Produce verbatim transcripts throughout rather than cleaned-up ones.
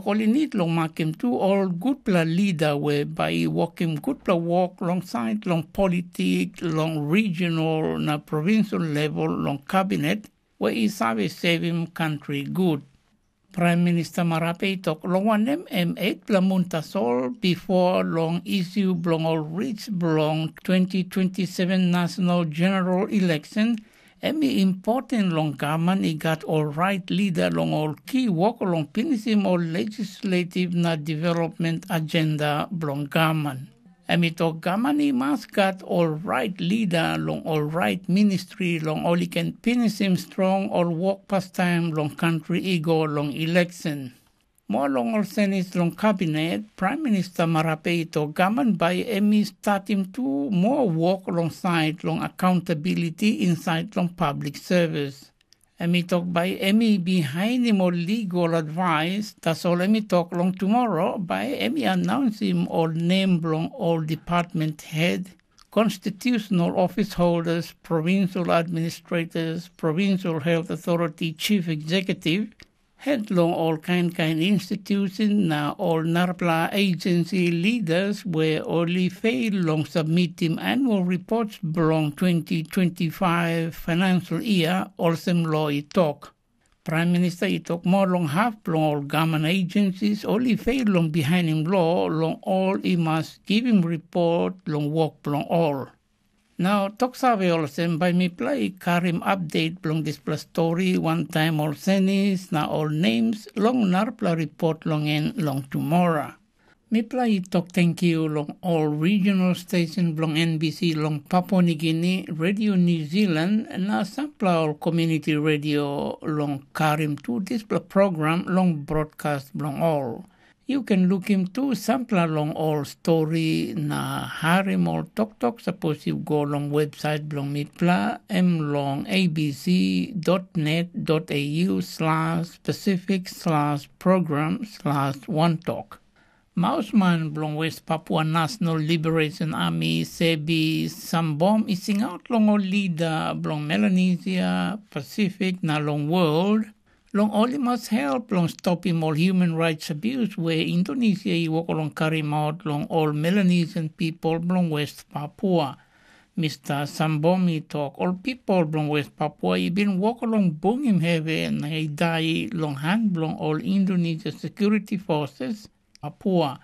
Ol i nid long makim tu ol gutpela lida we bai i wokim gutpela wok long sait long politik, long regional na provincial level long kabinet we i save sevim kantri gut. Praim Minista Marape i tok, long wanem, em etpela mun tasol bipo long isi bilong ol ris bilong twenty twenty-seven national general election, em i important long gavman i gat ol rait lida long ol ki wok long pinisim ol legislative na development agenda bilong gavman. Em i tok gavman i mas gat ol rait lida long ol rait ministri long ol i ken pinisim strong ol wok pastaim long kantri i go long eleksyen. Moa long ol senis long kabinet, Praim Minista Marape i tok gavman bai em i statim tu moa wok long sait long accountability insait long public service. Em i tok bai em i bihainim ol legal advice, tasol em i tok long tumora bai em i anaunsim ol nem bilong ol department head, constitutional office holders, provincial administrators, provincial health authority chief executive, het long ol kain kain institusen na ol narapela agency leaders we ol i fail long submitim annual reports bilong twenty twenty-five financial year, olsem lo i tok. Praim Minista i tok moa long hap bilong ol gavman agencies ol i fail long bihainim lo long ol i mas givim ripot long wok bilong ol. Na tok save olsem, bai mipela i karim update bilong dispela stori wantaim ol senis na ol names long narapela ripot long en long tumora. Mipela i tok tenkyu long ol regional station bilong N B C long Papua Nigini, Radio New Zealand na sampela ol community radio long karim tu dispela program long broadcast bilong ol. Yu ken lukim tu sampela long ol stori na harim ol toktok sapos yu go long websait bilong mipela, em long abc.net.au/pacific/program/wantok. Mausman bilong West Papua National Liberation Army, Sebi Sambom, i singaut long ol lida bilong Melanesia, Pasifik na long world, long ol i mas help long stopim ol human rights abuse we Indonesia i wok long karim aut long ol Melanesian pipel bilong West Papua. Mista Sambom i tok ol pipel bilong West Papua i bin wok long bungim hevi na i dai long han bilong ol Indonesia security forces, Papua.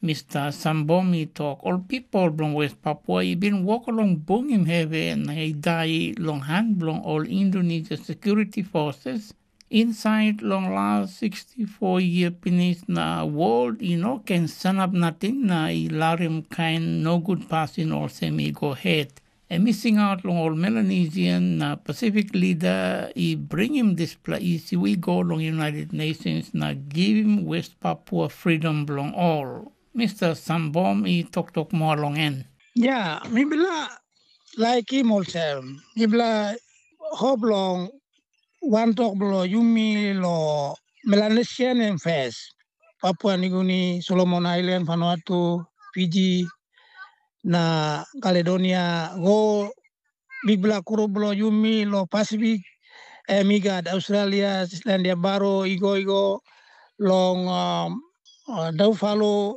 Mista Sambom i tok ol pipel bilong West Papua i bin wok long bungim hevi na i dai long han bilong ol Indonesia security forces insait long las sixty-four yia pinis, na wol i no ken sanap nating na i larim kain nogut pasin olsem i go het. Em i singaut long ol Melanesian na Pasifik lida i bringim dispela isi i go long United Nations na givim West Papua fridom bilong ol. Mista Sambom i toktok moa long en. Ya, mipela laikim olsem, mipela hop long wantok bilong yumi long Melanesian em fes, Papua Nigini, Solomon Ailan, Vanuatu, Fiji, na Kaledonia, go bikpela grup bilong yumi long Pasifik, em i gat Australia, Selandia Baru, i go i go long um, uh, Daufalu,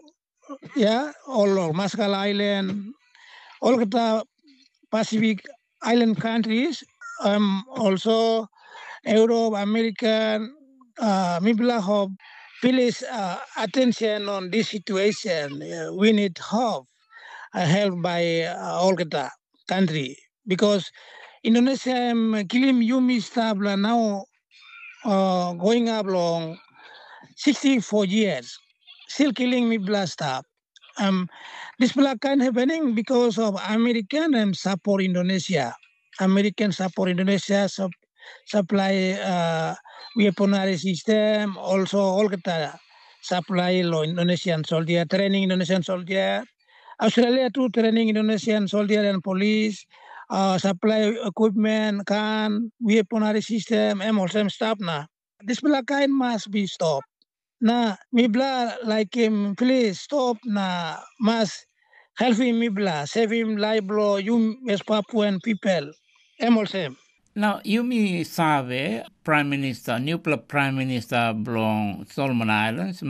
ya, ol long Maskala Island, olgeta Pacific Island countries, um, also Europe, American, uh, mipela hope please uh, attention on this situation. Uh, we need hope, uh, help by uh, olgeta country because Indonesia em kilim yumi stap la now uh, going up long sixty-four years, still killing mipela stap. Um, dispela kain happening because of American and support Indonesia. American support Indonesia sup, supply uh, weaponry system, also olgeta supply lo Indonesian soldier, training Indonesian soldier. Australia tu training Indonesian soldier and police, uh, supply equipment, gun, weaponry system, em olsem stap na. Dispela kain mas be stop. Na mipela laikim plis stop na mas helpim mipela sevim laip bilong yu West Papuan pipel. Em olsem. Na yumi save, Prime Minister, nupela Prime Minister bilong Solomon Islands,